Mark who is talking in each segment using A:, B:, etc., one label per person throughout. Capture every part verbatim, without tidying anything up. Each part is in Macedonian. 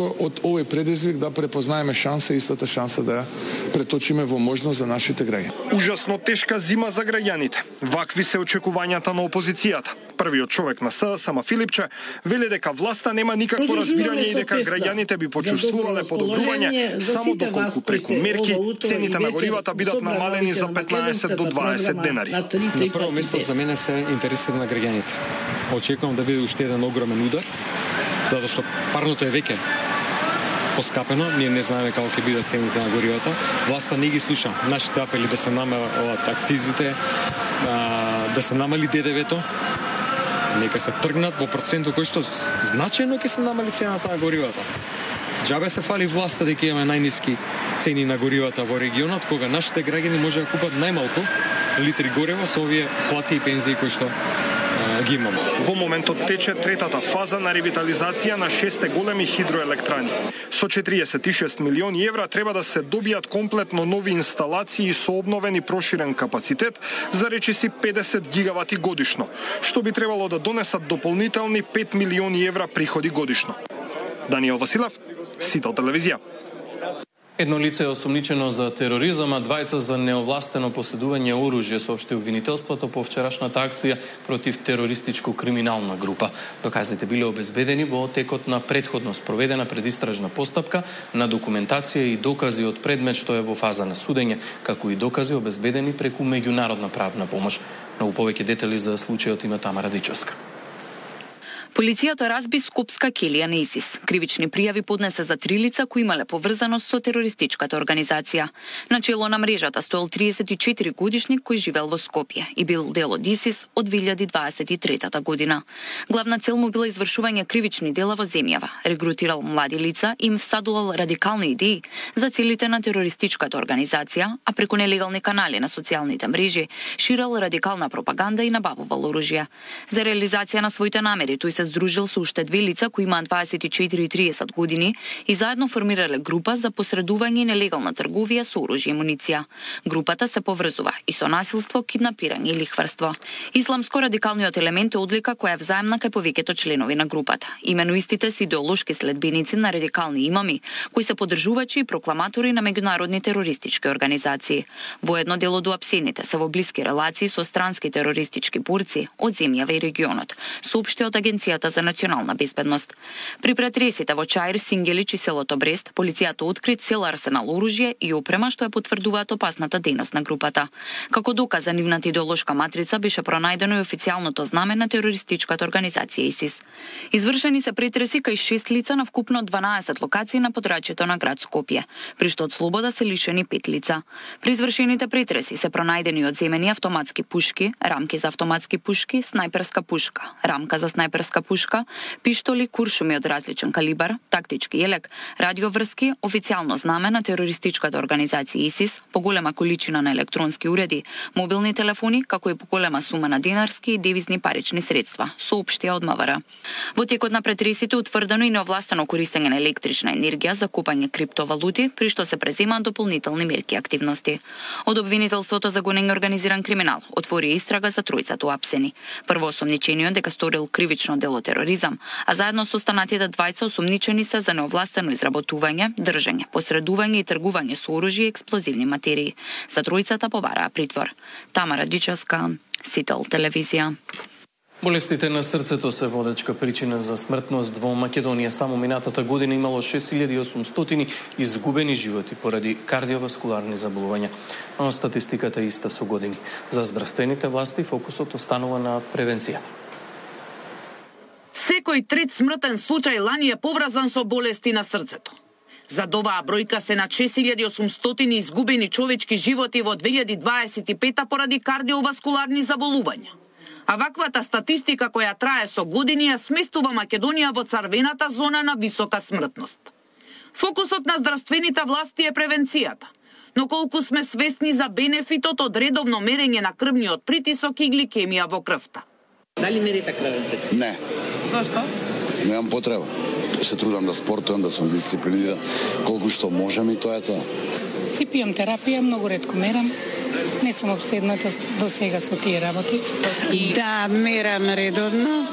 A: Од овој предизвик да препознаеме шанса, истата шанса да ја преточиме во можност за нашите граѓани.
B: Ужасно тешка зима за граѓаните. Вакви се очекувањата на опозицијата. Првиот човек на СДСМ, Сама Филипче, вели дека власта нема никакво разбирање и дека граѓаните би почувствувале подобрување само доколку преку мерки цените на горивата бидат намалени за петнаесет до дваесет денари.
C: На прво место за мене се интересите на граѓаните. Очекувам да биде уште еден огромен удар, затоа што парното е веќе поскапено, ние не знаеме како ќе бидат цените на горивата. Власта не ги слуша нашите апели да се намалат акцизите, да се намали Д Д В-то, нека се тргнат во процентот кој што значајно ќе се намали цената на горивата. Џабе се фали власта дека имаме најниски цени на горивата во регионот, кога нашите граѓани може да купат најмалку литри гориво со овие плати и пензии кои што ги имаме.
B: Во моментот тече третата фаза на ревитализација на шесте големи хидроелектрани. Со четириесет и шест милиони евра треба да се добијат комплетно нови инсталации со обновен и проширен капацитет за речиси педесет гигавати годишно, што би требало да донесат дополнителни пет милиони евра приходи годишно. Даниел Василев, Сител телевизија.
D: Едно лице е осумничено за тероризам, а двајца за неовластено поседување оружје, соопшти обвинителството по вчерашната акција против терористичко криминална група. Доказите биле обезбедени во текот на претходно спроведена предистражна постапка на документација и докази од предмет што е во фаза на судење, како и докази обезбедени преку меѓународна правна помош. Многу повеќе детали за случајот има Тамара Дичевска.
E: Полицијата разби скопска келија на ИСИС. Кривични пријави поднесе за три лица кои имале поврзаност со терористичката организација. На чело на мрежата стоел триесет и четири годишник кој живел во Скопје и бил дел од ИСИС од две илјади дваесет и трета година. Главна цел му била извршување кривични дела во земјава, регрутирал млади лица и им всадувал радикални идеи за целите на терористичката организација, а преку нелегални канали на социјалните мрежи ширал радикална пропаганда и набавувал оружје. За реализација на своите намери тој се здружил со уште две лица кои имаат дваесет и четири и тридесет години и заедно формирале група за посредување и нелегална трговија со оружје и муниција. Групата се поврзува и со насилство, киднапирање и лихварство. Исламско-радикалниот елемент е одлика која е взаемна кај повеќето членови на групата. Имено истите се идеолошки следбеници на радикални имами, кои се поддржувачи и прокламатори на меѓународни терористички организации. Воедно дел од уапсените се во блиски релации со странски терористички борци од земјава и регионот, соопшти од Агенцијата за национална безбедност. При претресите во Чаир, Сингелич и селото Брест, полицијата откри цел арсенал оружје и опрема што ја потврдуваат опасната дејност на групата. Како доказ за нивната идеолошка матрица беше пронајдено и официјалното знаме на терористичката организација ИСИС. Извршени се претреси кај шест лица на вкупно дванаесет локации на подрачјето на град Скопје, при што од слобода се лишени пет лица. При извршените претреси се пронајдени одземени автоматски пушки, рамки за автоматски пушки, снајперска пушка, рамка за снајперска пушка, пиштоли, куршуми од различен калибар, тактички елек, радиоврски, официјално знаме на терористичката организација ИСИС, поголема количина на електронски уреди, мобилни телефони, како и поголема сума на динарски и девизни парични средства, соопштија од МВР. Во текот на претресите утврдено и неовластено користење на електрична енергија за купање криптовалути, при што се преземаат дополнителни мерки и активности. Од обвинителството за гонење организиран криминал отвори истрага за тројцата уапсени. Прво осомничениот дека сторил кривично дело тероризам, а заедно со останатите двајца осумничени се за неовластено изработување, држење, посредување и тргување со оружје и експлозивни материи. За тројцата побараа притвор. Тамара Дичевска, Сител телевизија.
D: Болестите на срцето се водечка причина за смртност во Македонија. Само минатата година имало шест илјади и осумстотини изгубени животи поради кардиоваскуларни заболувања. Но статистиката е иста со години. За здравствените власти фокусот останува на превенцијата.
F: Секој трет смртен случај лани е поврзан со болести на срцето. За оваа бројка се на шест илјади и осумстотини изгубени човечки животи во две илјади дваесет и пета поради кардиоваскуларни заболувања. А ваквата статистика која трае со години ја сместува Македонија во црвената зона на висока смртност. Фокусот на здравствените власти е превенцијата, но колку сме свесни за бенефитот од редовно мерење на крвниот притисок и гликемија во крвта?
G: Дали мерите крвен притисок?
H: Не.
G: Зошто?
H: Немам потреба. Се трудам да спортувам, да сум дисциплиниран, колку што можам и тоа е тоа.
I: Си пијам терапија, многу ретко мерам. Не сум обседната до сега со тие работи.
G: И...
J: Да, мерам редовно.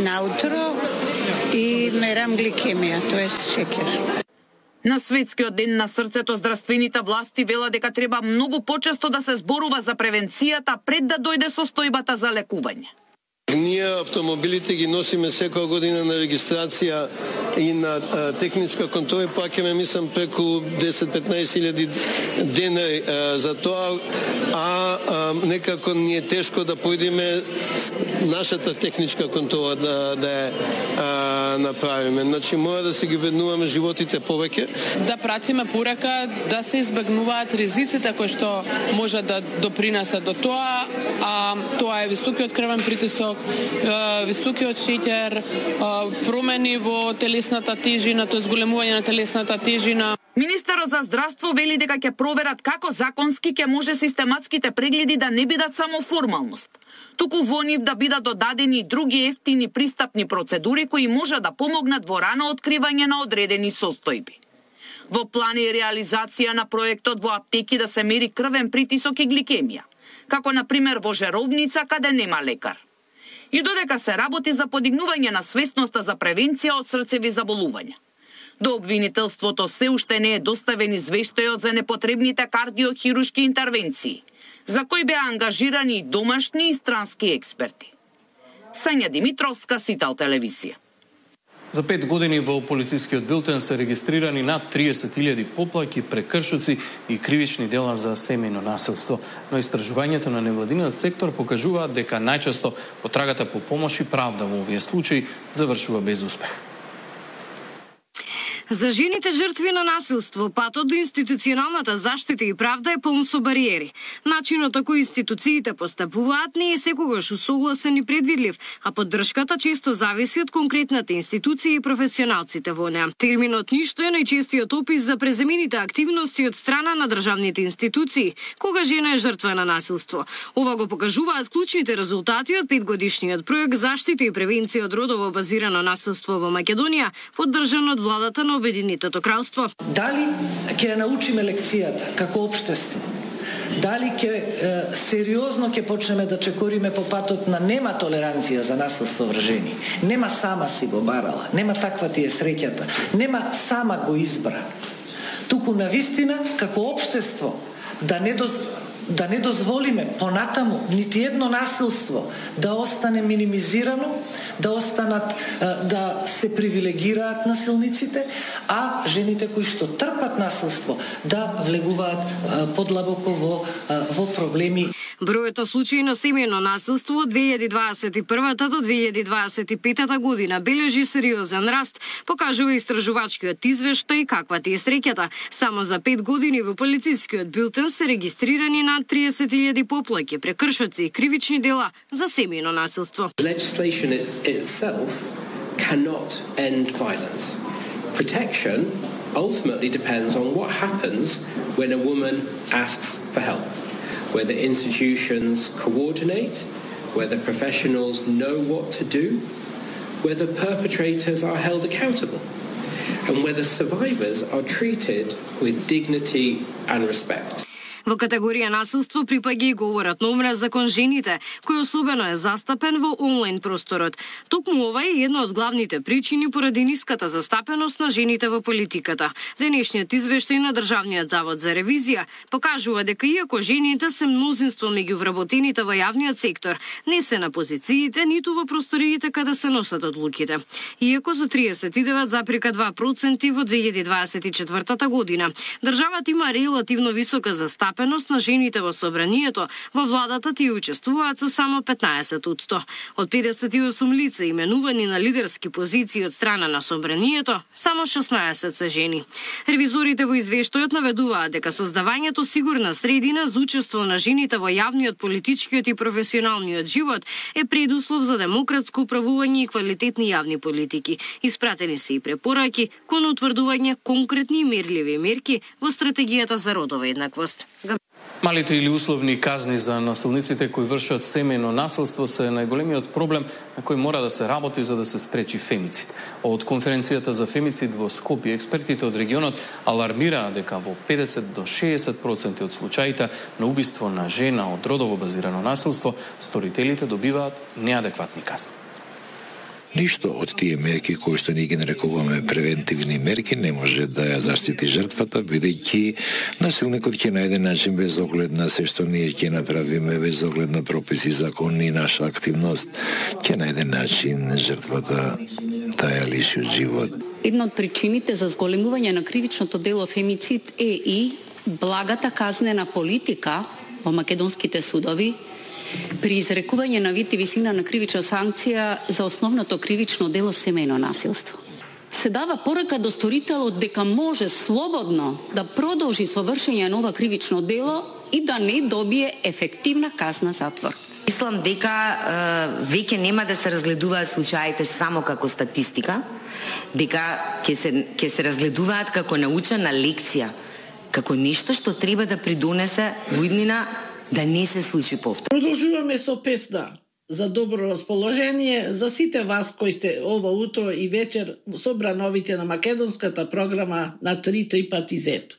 I: наутро и мерам гликемија, тоа е шекер.
F: На Светскиот ден на срцето здравствените власти велат дека треба многу почесто да се зборува за превенцијата пред да дојде состојбата за лекување.
J: Ние автомобилите ги носиме секоја година на регистрација и на а, техничка контрола, пак ќе ме мислам преку десет-петнаесет илјади денари а, за тоа, а, а некако ни е тешко да појдеме нашата техничка контрола да, да е а, направиме. Значи мора да се ги вреднуваме животите повеќе.
K: Да пратиме порака да се избегнуваат ризиците кои што може да допринесат до тоа, а тоа е високиот крвен притисок, високиот шеќер, промени во телесната тежина, тоа зголемување на телесната тежина.
F: Министерот за здравство вели дека ќе проверат како законски ќе може систематските прегледи да не бидат само формалност, туку во нив да бидат додадени други ефтини пристапни процедури кои може да помогнат во рано откривање на одредени состојби. Во план е реализација на проектот во аптеки да се мери крвен притисок и гликемија, како на пример во Жеровница каде нема лекар. И додека се работи за подигнување на свесноста за превенција од срцеви заболувања. До обвинителството се уште не е доставен извештајот за непотребните кардиохирушки интервенции, за кои беа ангажирани домашни и странски експерти. Сања Димитровска, Сител телевизија.
D: За пет години во полицискиот билтен се регистрирани над триесет илјади поплаки, прекршоци и кривични дела за семејно насилство. Но истражувањето на невладиниот сектор покажуваат дека најчесто потрагата по помош и правда во овие случаи завршува без успех.
L: За жените жртви на насилство, патот до институционалната заштита и правда е полн со бариери. Начинот на кој институциите постапуваат не е секогаш усогласен и предвидлив, а поддршката често зависи од конкретната институција и професионалците во неа. Терминот ништо е најчестиот опис за преземените активности од страна на државните институции, кога жена е жртва на насилство. Ова го покажуваат клучните резултати од петгодишниот проект Заштита и превенција од родово базирано насилство во Македонија, поддржан од владата на Обединетото кралство.
M: Дали ќе научиме лекцијата како општество? Дали ќе е, сериозно ќе почнеме да чекориме по патот на нема толеранција за насилство врз жени? Нема сама си го барала, нема таква ти е среќата, нема сама го избра. Туку навистина како општество да не доз... да не дозволиме понатаму нити едно насилство да остане минимизирано, да останат, да се привилегираат насилниците, а жените кои што трпат насилство да влегуваат подлабоко во, во проблеми.
L: Бројот случаи на семејно насилство од две илјади дваесет и прва до две илјади дваесет и пета година бележи сериозен раст, покажува истражувачкиот извештај каква ти е среќата. Само за пет години во полицискиот билтен се регистрирани над триесет илјади поплаки, прекршоци и кривични дела за семејно насилство.
N: Legislation itself cannot end violence. Protection ultimately depends on what happens when a woman asks for help. Whether institutions coordinate, whether professionals know what to do, whether perpetrators are held accountable, and whether survivors are treated with dignity and respect.
L: Во категорија насилство припаѓа и говорот на омраза кон жените, кој особено е застапен во онлайн просторот. Токму ова е една од главните причини поради ниската застапеност на жените во политиката. Денешниот извештај на Државниот завод за ревизија покажува дека иако жените се мнозинство меѓу вработените во јавниот сектор, не се на позициите ниту во просториите каде се носат одлуките. Иако за триесет и девет запирка два проценти во две илјади дваесет и четвртата година, државата има релативно висока застапеност на жените во собранието, во владата тие учествуваат со само петнаесет одсто. Од педесет и осум лица именувани на лидерски позиции од страна на собранието, само шеснаесет се жени. Ревизорите во извештајот наведуваат дека создавањето сигурна средина за учество на жените во јавниот, политичкиот и професионалниот живот е предуслов за демократско управување и квалитетни јавни политики. Испратени се и препораки кон утврдување конкретни и мерливи мерки во стратегијата за родова еднаквост.
D: Малите или условни казни за насилниците кои вршат семејно насилство се најголемиот проблем на кој мора да се работи за да се спречи фемицид. Од конференцијата за фемицид во Скопје, експертите од регионот алармираат дека во педесет до шеесет проценти од случаите на убиство на жена од родово базирано насилство, сторителите добиваат неадекватни казни.
O: Ништо од тие мерки кои што ние ги нарекуваме превентивни мерки не може да ја заштити жртвата, бидејќи насилникот ќе најде начин без оглед на се што ние ќе направиме, без оглед на прописи, закони и наша активност, ќе најде начин жртвата да ја лиши од живот.
P: Една од причините за зголемување на кривичното дело фемицид е и благата казнена политика во македонските судови при изрекување на вид и висина на кривична санкција за основното кривично дело семејно насилство. Се дава порака до сторителот дека може слободно да продолжи со вршење на ова кривично дело и да не добие ефективна казна затвор.
Q: Мислам дека е, веќе нема да се разгледуваат случаите само како статистика, дека ќе се ќе се разгледуваат како научена лекција, како нешто што треба да придонесе во иднина да не се случи повтор.
R: Продолжуваме со песна за добро расположение за сите вас кои сте ова утро и вечер со брановите на македонската програма на три три пати зет.